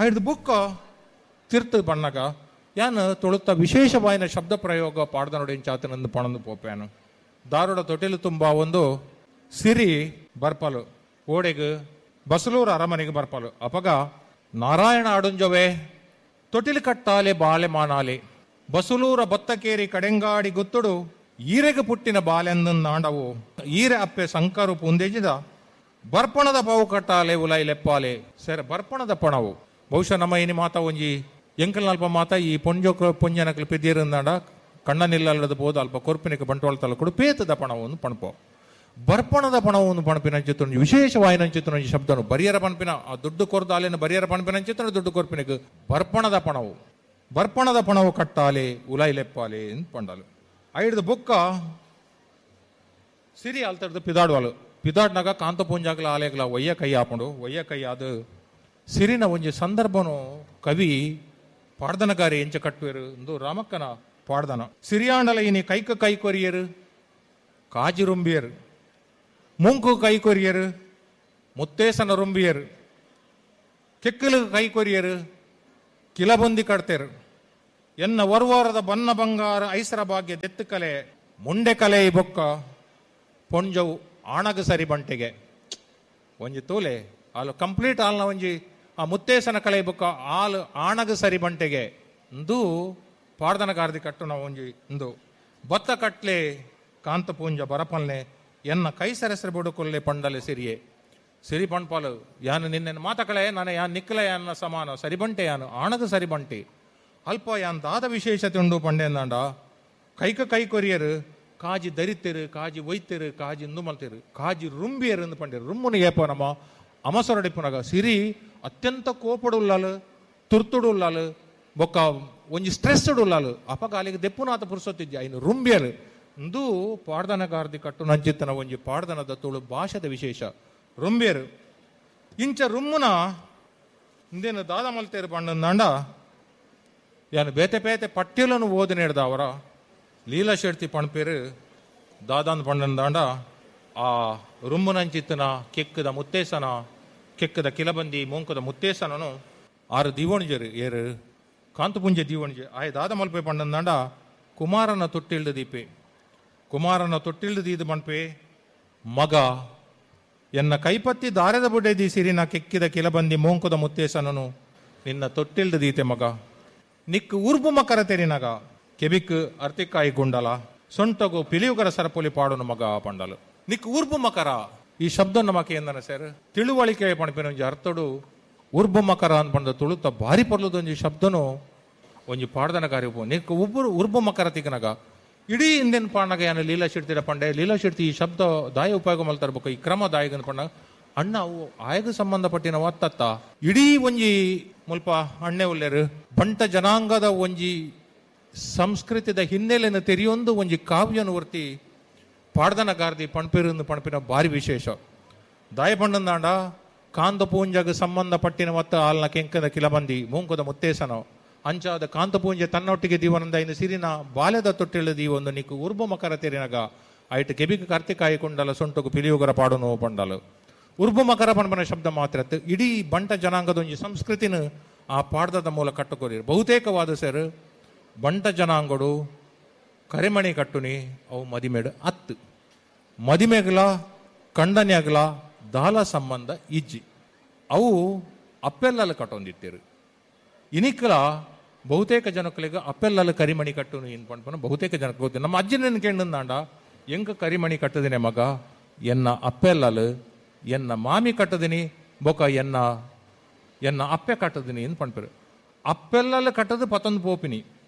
ಐಡ್ದು ಬುಕ್ಕ ತಿರ್ತು ಬಣ್ಣಗ ಯಾನ್ ತುಳುತ್ತ ವಿಶೇಷವಾಯಿನ ಶಬ್ದ ಪ್ರಯೋಗ ಪಾಡ್ದನೊಡು ಇಂಚಾತನಂದು ಪಣಂದು ಪೋಪೇನು. ದಾರುಡ ತೊಟಿಲು ತುಂಬ ಒಂದು ಸಿರಿ ಬರ್ಪಲು ಓಡೆಗ್ ಬಸಲೂರು ಅರಮನೆಗೆ ಬರ್ಪಲು. ಅಪಗ ನಾರಾಯಣ ಅಡುಂಜವೇ ತೊಟಿಲು ಕಟ್ಟಾಲೆ ಬಾಲೆ ಮಾನಾಲೆ ಬಸಲೂರ ಬತ್ತಕೇರಿ ಕಡೆಂಗಾಡಿ ಗುತ್ತುಡು ಈರೆಗೆ ಪುಟ್ಟಿನ ಬಾಲೆಂದು ಈರೆ ಅಪ್ಪೆ ಸಂಕರು ಪುಂದೆಜಿದ ಬರ್ಪಣದ ಪಾವು ಕಟ್ಟಾಲೆ ಉಲೈ ಲೆಪ್ಪಾಲೆ. ಸರ್ ಬರ್ಪಣದ ಪಣವು ಬಹುಶಃ ನಮ್ಮ ಇನಿ ಮಾತ ಒಂಜಿ ಎಂಕಲ್ನಲ್ಪ ಮಾತ ಈ ಪೊಂಜೋಕ ಪೊಂಜನಕಲು ಪೆದಿರಂದಾಂಡ ಕಣ್ಣನಿಲ್ಲದ ಪೋದು ಅಲ್ಪ ಕೊರ್ಪಿನಕ್ಕೆ ಬಂಟ್ವಾಳ ತಾಲೂಕು ಪೇತದ ಪಣವನ್ನು ಪಣಪೋ. ಬರ್ಪಣದ ಪಣವನ್ನು ಪಣಪಿನಂಚಿತ್ತು ವಿಶೇಷವಾಯಿನಂಚಿತ್ತು ಶಬ್ದನು ಬರಿಯರ ಪಣಪಿನ ಆ ದುಡ್ಡು ಕೊರ್ದು ಅಲ್ಲಿನ ಬರಿಯರ ಪಣಪಿನಂಚಿತ್ತು ದುಡ್ಡು ಕೊರ್ಪಿನಕ್ಕೆ ಬರ್ಪಣದ ಪಣವು ಬರ್ಪಣದ ಪಣವು ಕಟ್ಟಾಲೆ ಉಲೈ ಲೆಪ್ಪಾಲೆ ಎಂದು ಪಂಡಲು. ಐಡ್ದು ಬೊಕ್ಕ ಸಿರಿ ಅಲ್ತಡ್ದು ಪಿದಾಡುವಲು ಪಿದಾಡ್ನಾಗ ಕಾಂತ ಪೂಂಜಾಗ್ಲ ಆಲೆಗ್ಲ ಒಯ್ಯ ಕೈ ಹಾಕೊಂಡು ಒಯ್ಯ ಕೈ ಅದು ಸಿರಿನ ಒಂಜಿ ಸಂದರ್ಭನು ಕವಿ ಪಾಡ್ದನಗಾರಿ ಎಂಚ ಕಟ್ಟುವೆರು ಎಂದು ರಾಮಕ್ಕನ ಪಾಡ್ದನ. ಸಿರಿಯಾಂಡಲ ಇನಿ ಕೈಕ ಕೈ ಕೊರಿಯರು ಕಾಜಿ ರುಂಬಿಯರು ಮೂಂಕು ಕೈ ಕೊರಿಯರು ಮುತ್ತೇಸನ ರುಂಬಿಯರು ಕೆಕ್ಕಲು ಕೈ ಕೊರಿಯರು ಕಿಲಬಂದಿ ಕಡ್ತೇರು ಎನ್ನ ವರ್ವಾರದ ಬನ್ನ ಬಂಗಾರ ಐಸರ ಭಾಗ್ಯ ದೆತ್ತು ಕಲೆ ಮುಂಡೆ ಕಲೆ ಈ ಬೊಕ್ಕ ಪೊಂಜವು ಆಣಗ ಸರಿ ಬಂಟೆಗೆ ಒಂಜಿ ತೂಲೆ ಆಲು ಕಂಪ್ಲೀಟ್ ಆಲ್ನ ಒಂಜಿ ಆ ಮುತ್ತೇಸನ ಕಲೆ ಬೊಕ್ಕ ಆಲು ಆಣಗ ಸರಿ ಬಂಟೆಗೆ ಇಂದು ಪಾಡ್ದನ ಗಾರ್ದಿ ಕಟ್ಟು ನಾವು ಒಂಜಿ ಇಂದು ಬತ್ತ ಕಟ್ಲೆ ಕಾಂತಪೂಂಜ ಬರಪಲ್ನೆ ಎನ್ನ ಕೈ ಸರಸರ ಬುಡುಕೊಲ್ಲೆ ಪಂಡಲೆ ಸಿರಿಯೆ ಸಿರಿ ಪಂಡ್ಪಾಲು ಯಾನು ನಿನ್ನೆ ಮಾತಕಳೆ ನಾನು ಯಾನ್ ನಿಕ್ಕಲೆ ಯಾನ ಸಮಾನ ಸರಿಬಂಟೆ ಯಾನು ಆಣದ ಸರಿಬಂಟೆ ಅಲ್ಪ ಯಾನ್ ದಾದ ವಿಶೇಷತೆ ಉಂಡು ಪಂಡೆಂದಾಂಡ ಕೈಕ ಕೈ ಕೊರಿಯರು ಕಾಜಿ ದರಿತೆರು ಕಾಜಿ ಒಯ್ತೆರು ಕಾಜಿ ಇಂದು ಮಲ್ತೇರು ಕಾಜಿ ರುಂಬಿಯರು ಎಂದು ಪಂಡೇರು. ರುಮ್ಮುನು ಏಪ ನಮ್ಮ ಅಮಸರಡಿಪುನಗ ಸಿರಿ ಅತ್ಯಂತ ಕೋಪಡುಲ್ಲಾಲು ತುರ್ತುಡುಲ್ಲಾಲು ಬೊಕ್ಕ ಒಂಜಿ ಸ್ಟ್ರೆಸ್ ಉಲ್ಲಾಲು ಅಪಗ ಅಲ್ಲಿಗೆ ದೆಪ್ಪುನಾಥ ಪುರುಸೊತ್ತಿದ್ದೆ ಐನು ರುಂಬಿಯರು ಇಂದು ಪಾಡ್ದನಗಾರ್ದಿ ಕಟ್ಟು ನಂಚಿತ್ತನ ಒಂಜಿ ಪಾಡ್ದನದ ತುಳು ಭಾಷೆದ ವಿಶೇಷ ರುಂಬಿಯರು. ಇಂಚ ರುಮ್ಮುನ ಇಂದೇನು ದಾದ ಮಲ್ತೇರು ಪಂಡಂದಾಂಡ ಯಾನು ಬೇತೆ ಬೇತೆ ಪಟ್ಟಿలను ಓದಿನೇಡ್ದ ಅವರ ಲೀಲಾ ಶೆಡ್ತಿ ಪಣಪೇರು ದಾದಾನ್ ಪಂಡಂದಾಂಡ ಆ ರುಮ್ಮುನಂಚಿತ್ತನ ಕೆಕ್ಕದ ಮುತ್ತೇಸನ ಕೆಕ್ಕದ ಕಿಲಬಂದಿ ಮೂಂಕದ ಮುತ್ತೇಸನನು ಆರು ದೀವಣಿಜರು ಏರು ಕಾಂತಪುಂಜ ದೀವಣಿಜೆ ಆಯ ದಾದ ಮಲ್ಪೆ ಪಂಡಂದಾಂಡ ಕುಮಾರನ ತೊಟ್ಟಿಲ್ದ ದೀಪೆ ಕುಮಾರನ ತೊಟ್ಟಿಲ್ದ ದೀದು ಮಣ್ಪೆ ಮಗ ಎನ್ನ ಕೈಪತ್ತಿ ದಾರದ ಬುಡೆದಿ ಸಿರಿನ ಕೆಕ್ಕಿದ ಕಿಲಬಂದಿ ಮೂಂಕದ ಮುತ್ತೇಸನನು ನಿನ್ನ ತೊಟ್ಟಿಲ್ದ ದೀತೆ ಮಗ ನಿಕ್ ಉರ್ಬು ಮಕರ ತೆರಿನಗ ಕೆಬಿಕ್ ಅರ್ತಿಕಾಯಿ ಗುಂಡಲ ಸೊಂಟಗು ಪಿಲಿಯುಗರ ಸರಪೊಲಿ ಪಾಡುನು ಮಗ ಪಂಡಲು. ನಿಕ್ ಉರ್ಬು ಮಕರ ಈ ಶಬ್ದ ನಮಕೆ ಎಂದನ ಸರ್ ತಿಳುವಳಿಕೆ ಪಣಪಿನ ಒಂಜಿ ಅರ್ಥಡು ಉರ್ಬು ಮಕರ ಅನ್ಪಂಡ ತುಳುತ ಭಾರಿ ಪರ್ಲದೊಂಜಿ ಶಬ್ದನು ಒಂಜಿ ಪಾಡ್ದನ ಕಾರ್ಯ ನಿಕ್ ಉಬ್ಬರು ಉರ್ಬು ಮಕರ ತಿಕ್ಕನಗ ಇಡೀ ಹಿಂದಿನ ಪಾಣಗ ಯಾನು ಲೀಲಾ ಶಿಡ್ತಿರ ಪಂಡೆ ಲೀಲಾ ಶಿಡ್ತಿ ಈ ಶಬ್ದ ದಾಯ ಉಪಯೋಗ ಮಲ್ತರ್ಬೇಕು ಈ ಕ್ರಮ ದಾಯಗನ್ ಪಂಡ ಅಣ್ಣ ಅವು ಆಯಗ ಸಂಬಂಧಪಟ್ಟಿನ ಒತ್ತತ್ತ ಇಡೀ ಒಂಜಿ ಮುಲ್ಪ ಅಣ್ಣೆ ಉಲ್ಲೇರು ಬಂಟ ಜನಾಂಗದ ಒಂಜಿ ಸಂಸ್ಕೃತಿದ ಹಿನ್ನೆಲೆಯನ್ನು ತೆರೆಯೊಂದು ಒಂಜಿ ಕಾವ್ಯನು ವರ್ತಿ ಪಾಡ್ದನ ಗಾರ್ದಿ ಪಣ್ಪಿರಂದು ಪಣ್ಪಿನ ಭಾರಿ ವಿಶೇಷ. ದಾಯ ಪಂಡಂದಾಂಡ ಕಾಂತ ಪೂಂಜಗ ಸಂಬಂಧಪಟ್ಟಿನ ಮತ್ತ ಆಲ್ನ ಕೆಂಕದ ಕಿಲಬಂದಿ ಮೂಂಕದ ಮುತ್ತೇಸನ ಅಂಚಾದ ಕಾಂತಪೂಂಜೆ ತನ್ನೊಟ್ಟಿಗೆ ದೀವನಂದ ಇನ್ನು ಸಿರಿನ ಬಾಲ್ಯದ ತೊಟ್ಟಿಳ ದೀವೊಂದು ನಿಕ್ಕು ಉರ್ಬು ಮಕರ ತೆರಿನಗ ಐಟ್ ಕೆಬಿಗೆ ಕಾರ್ತಿಕಾಯಿ ಕೊಂಡಲ ಸೊಂಟಗು ಪಿಲಿಯುಗರ ಪಾಡುನು ಪಂಡಲು. ಉರ್ಬು ಮಕರ ಪಂಪನ ಶಬ್ದ ಮಾತ್ರ ಇಡೀ ಬಂಟ ಜನಾಂಗದ ಒಂಜಿ ಸಂಸ್ಕೃತಿನ ಆ ಪಾಡ್ದದ ಮೂಲ ಕಟ್ಟುಕೊರಿ. ಬಹುತೇಕವಾದ ಸರ್ ಬಂಟ ಜನಾಂಗಡು ಕರಿಮಣಿ ಕಟ್ಟುನಿ ಅವು ಮದಿಮೇಡು ಅತ್ತು ಮದಿಮೆಗಲ ಕಂಡನ್ಯಾಗಲ ದಾಲ ಸಂಬಂಧ ಇಜ್ಜಿ ಅವು ಅಪ್ಪೆಲ್ಲಲು ಕಟ್ಟೊಂದಿತ್ತೇರು. ಇನಿಕಲ ಬಹುತೇಕ ಜನಕ್ಕಳಿಗೆ ಅಪ್ಪೆಲ್ಲಲು ಕರಿಮಣಿ ಕಟ್ಟುನು ಏನು ಪಂಡ್ಪನ ಬಹುತೇಕ ಜನಕ್ಕೆ ಗೊತ್ತಿಲ್ಲ. ನಮ್ಮ ಅಜ್ಜನ ಕೇಂದ್ರಂದಾಂಡ ಎಂಕ ಕರಿಮಣಿ ಕಟ್ಟದಿನಿ ಮಗ ಎನ್ನ ಅಪ್ಪೆಲ್ಲಲು ಎನ್ನ ಮಾಮಿ ಕಟ್ಟದಿನಿ ಬೊಕ ಎನ್ನ ಎನ್ನ ಅಪ್ಪೆ ಕಟ್ಟದಿನಿ ಏನು ಪಂಡ್ಪರು. ಅಪ್ಪೆಲ್ಲಲು ಕಟ್ಟದು ಪತ್ತೊಂದು ಪೋಪಿನಿ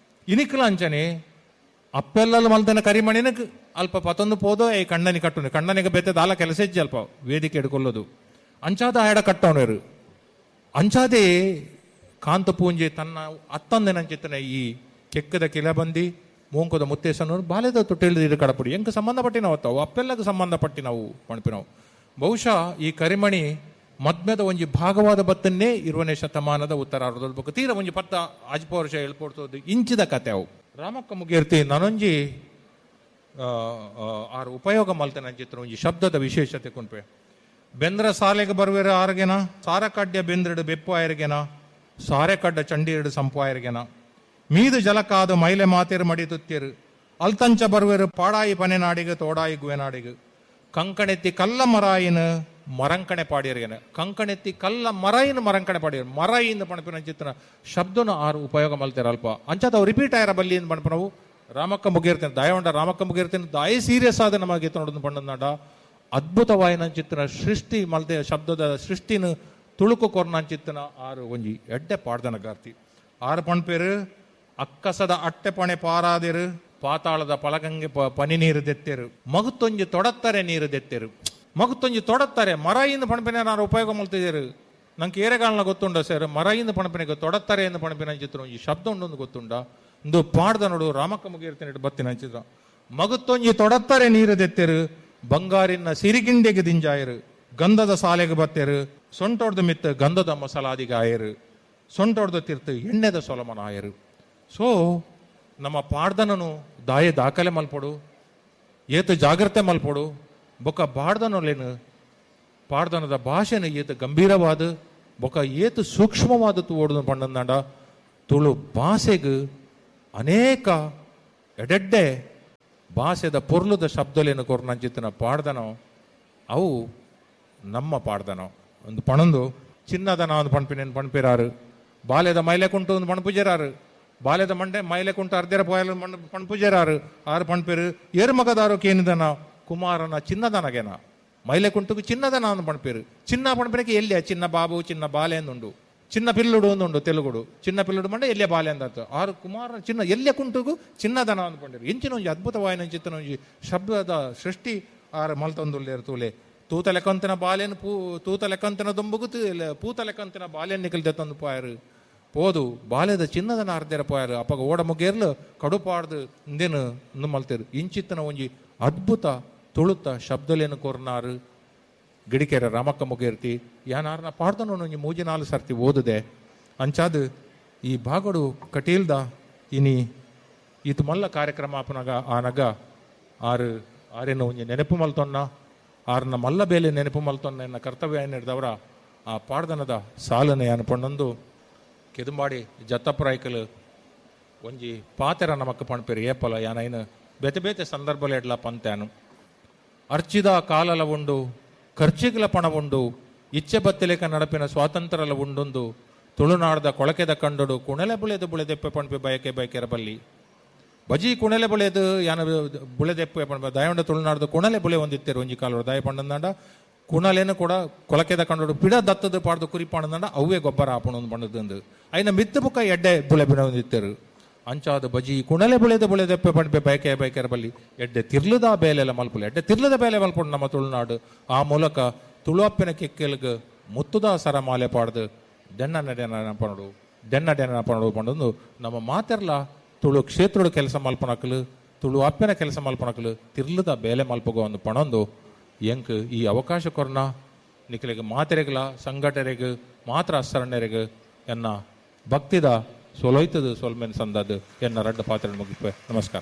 ಇನಿಕಲ ಅಂಚನೆ ಅಪ್ಪೆಲ್ಲಲು ಮಲ್ದನ ಕರಿಮಣಿನ ಅಲ್ಪ ಪತ್ತೊಂದು ಪೋದೋ ಈ ಕಣ್ಣನಿ ಕಟ್ಟುನಿ ಕಣ್ಣನಿಗೆ ಬೇತೆ ದಾಲ ಕೆಲಸ ಹೆಜ್ಜೆ ಅಲ್ಪ ವೇದಿಕೆ ಹಿಡ್ಕೊಳ್ಳೋದು ಅಂಚಾದ ಆಯಡ ಕಟ್ಟವನೇರು. ಅಂಚಾದೇ ಕಾಂತಪೂಂಜೆ ತನ್ನ ಅತ್ತಂದೆನಂಚಿತ್ತನ ಈ ಕೆಕ್ಕದ ಕಿಲಬಂದಿ ಮೂಂಕದ ಮುತ್ತೇಸನವರು ಬಾಲ್ಯದ ತೊಟ್ಟಿಲ್ದ ಕಡಪುಡಿ ಎಂಕ ಸಂಬಂಧಪಟ್ಟಿನವು ಅವು ಅಪ್ಪೆಲ್ಲಕ್ಕೆ ಸಂಬಂಧಪಟ್ಟಿನವು ಪಣಪಿನವು. ಬಹುಶಃ ಈ ಕರಿಮಣಿ ಮದ್ಮೆದ ಒಂಜಿ ಭಾಗವಾದ ಬತ್ತನ್ನೇ 20ನೇ ಶತಮಾನದ ಉತ್ತರಾರ್ಧದ ಬೊಕ್ಕ ತೀರ ಒಂಜಿ ಪತ್ತ ಆಜ್ಪ ವರ್ಷ ಹೇಳ್ಕೊಡ್ತದ್ದು ಇಂಚಿದ ಕತೆ ಅವು. ರಾಮಕ್ಕ ಮುಗಿರ್ತಿ ನಾನೊಂಜಿ ಆರು ಉಪಯೋಗ ಮಲ್ತನಂಚಿತ್ರ ಒಂಜಿ ಶಬ್ದದ ವಿಶೇಷತೆ ಕುಂಪೆ. ಬೆಂದ್ರ ಸಾಲೆಗೆ ಬರುವೆರ ಆರ್ಗೆನ ಸಾರ ಕಡ್ಯ ಬೆಂದ್ರಡು ಬೆಪ್ಪು ಆಯರ್ಗೆನ ಸಾರೆ ಕಡ್ಡ ಚಂಡೀರಡು ಸಂಪಾಯರ್ಗೆನ ಮೀದು ಜಲಕಾದ ಮೈಲೆ ಮಾತೆರು ಮಡಿ ತುತ್ತಿರು ಅಲ್ತಂಚ ಬರುವೆರು ಪಾಡಾಯಿ ಪನೆನಾಡಿಗೆ ತೋಡಾಯಿ ಗುವೆನಾಡಿಗೆ ಕಂಕಣೆತ್ತಿ ಕಲ್ಲ ಮರಾಯಿನ ಮರಂಕಣೆ ಪಾಡಿಯರ್ಗೆನ ಕಂಕಣೆತ್ತಿ ಕಲ್ಲ ಮರಾಯಿನ ಮರಂಕಣೆ ಪಾಡಿಯರು ಮರಾಯಿನ ಪಣಪಿನ ಚಿತ್ರ ಶಬ್ದನ ಆರು ಉಪಯೋಗ ಮಲ್ತಿರ ಅಲ್ಪ ಅಂಚಾದ ರಿಪೀಟ್ ಆಯರ ಬಲ್ಲಿ ಅಂತ ಪಣಪನವು ರಾಮಕ್ಕ ಮುಗಿರ್ತೇನೆ ದಯವಂಡ ರಾಮಕ್ಕ ಮುಗಿರ್ತೇನೆ ದಾಯಿ ಸೀರಿಯಸ್ ಆದ ನಮಗೆ ನೋಡೋದು ಪಣ್ಣನಾಡ ಅದ್ಭುತವಾಯಿನ ಚಿತ್ರ ಸೃಷ್ಟಿ ಮಲ್ತೆ ಶಬ್ದದ ಸೃಷ್ಟಿನ ತುಳುಕು ಕೊರ್ನಂಚಿತ್ತನ ಆರು ಒಂಜಿ ಎಡ್ಡೆ ಪಾಡ್ದನ ಗಾರ್ತಿ ಆರು ಪಣ್ಪೇರು ಅಕ್ಕಸದ ಅಟ್ಟೆ ಪಣೆ ಪಾರಾದಿರು ಪಾತಾಳದ ಪಳಗಂಗೆ ಪನಿ ನೀರು ದೆತ್ತೆರು ಮಗುತ್ತೊಂಜಿ ತೊಡತ್ತಾರೆ ನೀರು ದೆತ್ತೆರು ಮಗುತ್ತೊಂಜಿ ತೊಡತ್ತಾರೆ ಮರಾಯಿಂದ ಪಣಪಿನ ನಾನು ಉಪಯೋಗ ಮಲ್ತಿದ್ದೀರು ನಂಗೆ ಏರೆಗಾಲನ ಗೊತ್ತುಂಡ ಸರ್ ಮರಾಯಿಂದ ಪಣಪಿನಿಗೆ ತೊಡತ್ತಾರೆ ಎಂದು ಪಣಪಿನ ಚಿತ್ರ ಈ ಶಬ್ದ ಉಂಡೊಂದು ಗೊತ್ತುಂಡ ಇಂದು ಪಾಡ್ದ ನೋಡು ರಾಮಕ್ಕ ಮುಗಿರ್ತೇನೆ ಬತ್ತಿನ ಚಿತ್ರ ಮಗುತ್ತೊಂಜಿ ತೊಡತ್ತಾರೆ ನೀರು ದೆತ್ತೆರು ಬಂಗಾರಿನ ಸಿರಿಗಿಂಡೆಗೆ ದಿಂಜಾಯರು ಗಂಧದ ಸಾಲೆಗೆ ಬತ್ತೆರು ಸೊಂಟೊಡ್ದು ಮಿತ್ತ ಗಂಧದ ಮಸಲಾದಿಗೆ ಆಯರು ಸೊಂಟೊಡ್ದು ತಿರ್ತು ಎಣ್ಣೆದ ಸೊಲಮನ ಆಯರು. ಸೊ ನಮ್ಮ ಪಾಡ್ದನನು ದಾಯ ದಾಖಲೆ ಮಲ್ಪೊಡು ಏತು ಜಾಗ್ರತೆ ಮಲ್ಪೊಡು ಬೊಕ್ಕ ಪಾಡ್ದನೊಲೇನು ಪಾಡ್ದನದ ಭಾಷೆನ ಏತು ಗಂಭೀರವಾದ ಬೊಕ್ಕ ಏತು ಸೂಕ್ಷ್ಮವಾದ ತೂವೊಡು ಪಂಡಂದಾಂಡ ತುಳು ಭಾಷೆಗೆ ಅನೇಕ ಎಡೆಡ್ಡೆ ಭಾಷೆದ ಪೊರ್ಲುದ ಶಬ್ದಲೇನು ಕೊರ್ನಂಚಿತ್ತಿನ ಪಾಡ್ದನೋ ಅವು ನಮ್ಮ ಪಾಡ್ದನೋ ಒಂದು ಪಣಂದು ಚಿನ್ನದನ ಒಂದು ಪಣ್ಪಿನೇನು ಪಣ್ಪಿರಾರು ಬಾಲ್ಯದ ಮೈಲೆ ಕುಂಟು ಒಂದು ಪಣಪುಜರಾರು ಬಾಲ್ಯದ ಮಂಡೆ ಮೈಲೆ ಕುಂಟು ಅರ್ಧರ ಪೋಯಲು ಪಣ್ಪುಜರಾರು ಆರು ಪಣ್ಪಿರು ಏರು ಕೇನಿದನ ಕುಮಾರನ ಚಿನ್ನದನಗೆನ ಮೈಲೆ ಕುಂಟುకు ಚಿನ್ನದನ ಒಂದು ಪಣ್ಪಿರು ಚಿನ್ನ ಪಣ್ಪಿನಕ್ಕೆ ಎಲ್ಲಿಯ ಚಿನ್ನ ಬಾಬು ಚಿನ್ನ ಬಾಲೆ ಅಂದುಂಡು ಚಿನ್ನ ಪಿಲ್ಲುಡು ಒಂದುಂಡು ತೆಲುಗುಡು ಚಿನ್ನ ಪಿಲ್ಲುಡು ಮಂಡೆ ಎಲ್ಲಿಯ ಬಾಲೆ ಅಂದಾತು ಆರು ಕುಮಾರನ ಚಿನ್ನ ಎಲ್ಲಿಯ ಕುಂಟುಗು ಚಿನ್ನದನ ಅಂದ್ಕೊಂಡಿರು ಇಂಚಿನ ಒಂಜಿ ಅದ್ಭುತವಾಯಿನ ಚಿತ್ತನ ಒಂಜಿ ಶಬ್ದದ ಸೃಷ್ಟಿ ಆರು ಮಲ್ತೊಂದುಲ್ಲೇರು ತೂಲೆ ತೂತ ಲೆಕ್ಕಂತಿನ ಬಾಲೆನ್ ಪೂ ತೂತ ಲೆಕ್ಕಂತಿನ ದುಂಬುಗು ಪೂತ ಲೆಕ್ಕಂತಿನ ಬಾಲೆನ್ ನಿಕಲ್ದೆ ತಂದು ಪಾಯರು ಪೋದು ಬಾಲ್ಯದ ಚಿನ್ನದನ ಅರ್ಧೆರ ಪೋಯರು ಅಪ್ಪಗ ಓಡ ಮುಗೇರ್ಲು ಕಡುಪಾಡ್ದು ಇಂದೇನು ಇಂದು ಮಲ್ತೇರು ಇಂಚಿತ್ತನ ಒಂಜಿ ಅದ್ಭುತ ತುಳುತ ಶಬ್ದಲೇನು ಕೊರ್ನಾರು ಗಿಡಿಕೆರೆ ರಾಮಕ್ಕ ಮುಗೇರ್ತಿ ಯಾನಾರನ ಪಾಡ್ದನು ಒಂಜಿ ಮೂಜಿ ನಾಲು ಸರ್ತಿ ಓದುದೆ ಅಂಚಾದ ಈ ಭಾಗಡು ಕಟೀಲ್ದ ಇನಿ ಈತು ಮಲ್ಲ ಕಾರ್ಯಕ್ರಮ ಆಪನಾಗ ಆನಗ ಆರು ಆರೇನು ಒಂಜಿ ನೆನಪು ಮಲ್ತೊನ್ನ ಆರನ ಮಲ್ಲ ಬೇಲೆ ನೆನಪು ಮಲ್ತೊನ್ನ ಎನ್ನ ಕರ್ತವ್ಯ ಹಿಡ್ದವರ ಆ ಪಾಡ್ದನದ ಸಾಲನೆ ಅನ್ಪಣ್ಣೊಂದು ಕೆದುಂಬಾಡಿ ಜತ್ತಪ್ರಾಯ್ಕಲು ಒಂಜಿ ಪಾತೆರ ನಮಕ್ ಪಣ್ಪೇರು ಏಪಲ ಯಾನೈನು ಬೇತೆ ಬೇತೆ ಸಂದರ್ಭಲ ಎಡ್ಲ ಪಂತ್ಯಾನು ಅರ್ಚಿದ ಕಾಲಲ ಉಂಡು ಖರ್ಚಿಗ್ಲ ಪಣ ಉಂಡು ಇಚ್ಛೆ ಬತ್ತಿಲೇಕ ನಡಪಿನ ಸ್ವಾತಂತ್ರ್ಯಲ ಉಂಡೊಂದು ತುಳುನಾಡದ ಕೊಳಕೆದ ಕಂಡೊಡು ಕುಣಲೆ ಬುಳೆದು ಬುಳೆದೆಪ್ಪೆ ಪಣ್ಪೆ ಬಯಕೆ ಬಯಕೆರ ಬಲ್ಲಿ ಬಜಿ ಕುಣಲೆ ಬುಳೆದು ಯಾನ ಬುಳೆದೆಪ್ಪೆ ಪಣ್ಪೆ ದಯವಂಡ ತುಳುನಾಡದ ಕುಣಲೆ ಬುಳೆ ಒಂದಿತ್ತೇರು ಒಂಜಿ ಕಾಲೋಡು ದಯ ಪಂಡಂದಾಂಡ ಕುಣಲೇನು ಕೂಡ ಕೊಳಕೆದ ಕಂಡೋಡು ಪಿಡ ದತ್ತದ ಪಾಡ್ದು ಕುರಿ ಪಾಡಂದಾಂಡ ಅವೇ ಗೊಬ್ಬರ ಆಪಣೊಂದು ಪಂಡದಂದು ಐನ ಮಿತ್ತ ಬುಕ್ಕ ಎಡ್ಡೆ ಬುಳೆ ಬಿಡ ಒಂದಿತ್ತೇರು ಅಂಚಾದ ಬಜಿ ಕುಣಲೆ ಬುಳೆದ ಬುಳೆದೆಪ್ಪೆ ಪಣ್ಪೆ ಬಯಕೆ ಬಯಕೆರ ಬಲ್ಲಿ ಎಡ್ಡೆ ತಿರ್ಲದ ಬೇಲೆಲ್ಲ ಮಲ್ಪುಲೆ ಎಡ್ಡೆ ತಿರ್ಲದ ಬೇಲೆ ಮಲ್ಪುಂಡು ನಮ್ಮ ತುಳುನಾಡು ಆ ಮೂಲಕ ತುಳುವಪ್ಪಿನ ಕೆಕ್ಕೆಲ್ಗ್ ಮುತ್ತುದ ಸರಮಾಲೆ ಪಾಡ್ದು ದೆಣ್ಣ ನಡೆನ ಪಣಡು ದೆಣ್ಣ ಡೆನ್ನ ಪಣಡು ಪಂಡೊಂದು ನಮ್ಮ ಮಾತೆರ್ಲ ತುಳು ಕ್ಷೇತ್ರಡು ಕೆಲಸ ಮಲ್ಪನಕಲು ತುಳು ಅಪ್ಪನ ಕೆಲಸ ಮಲ್ಪನಕಲು ತಿರ್ಲದ ಬೇಲೆ ಮಲ್ಪಗೋ ಒಂದು ಪಣೊಂದು ಎಂಕ್ ಈ ಅವಕಾಶ ಕೊರ್ನ ನಿಖಲಿಗೆ ಮಾತೆರೆಗ್ಲ ಸಂಘಟನೆಗೆ ಮಾತ್ರ ಅಸರಣೆರೆಗ್ ಎನ್ನ ಭಕ್ತಿದ ಸೊಲೊಯ್ತದ ಸೊಲ್ಮೆನ್ ಸಂದದ್ದು ಎನ್ನ ರಡ್ಡ ಪಾತ್ರ ಮುಗಿಪೆ. ನಮಸ್ಕಾರ.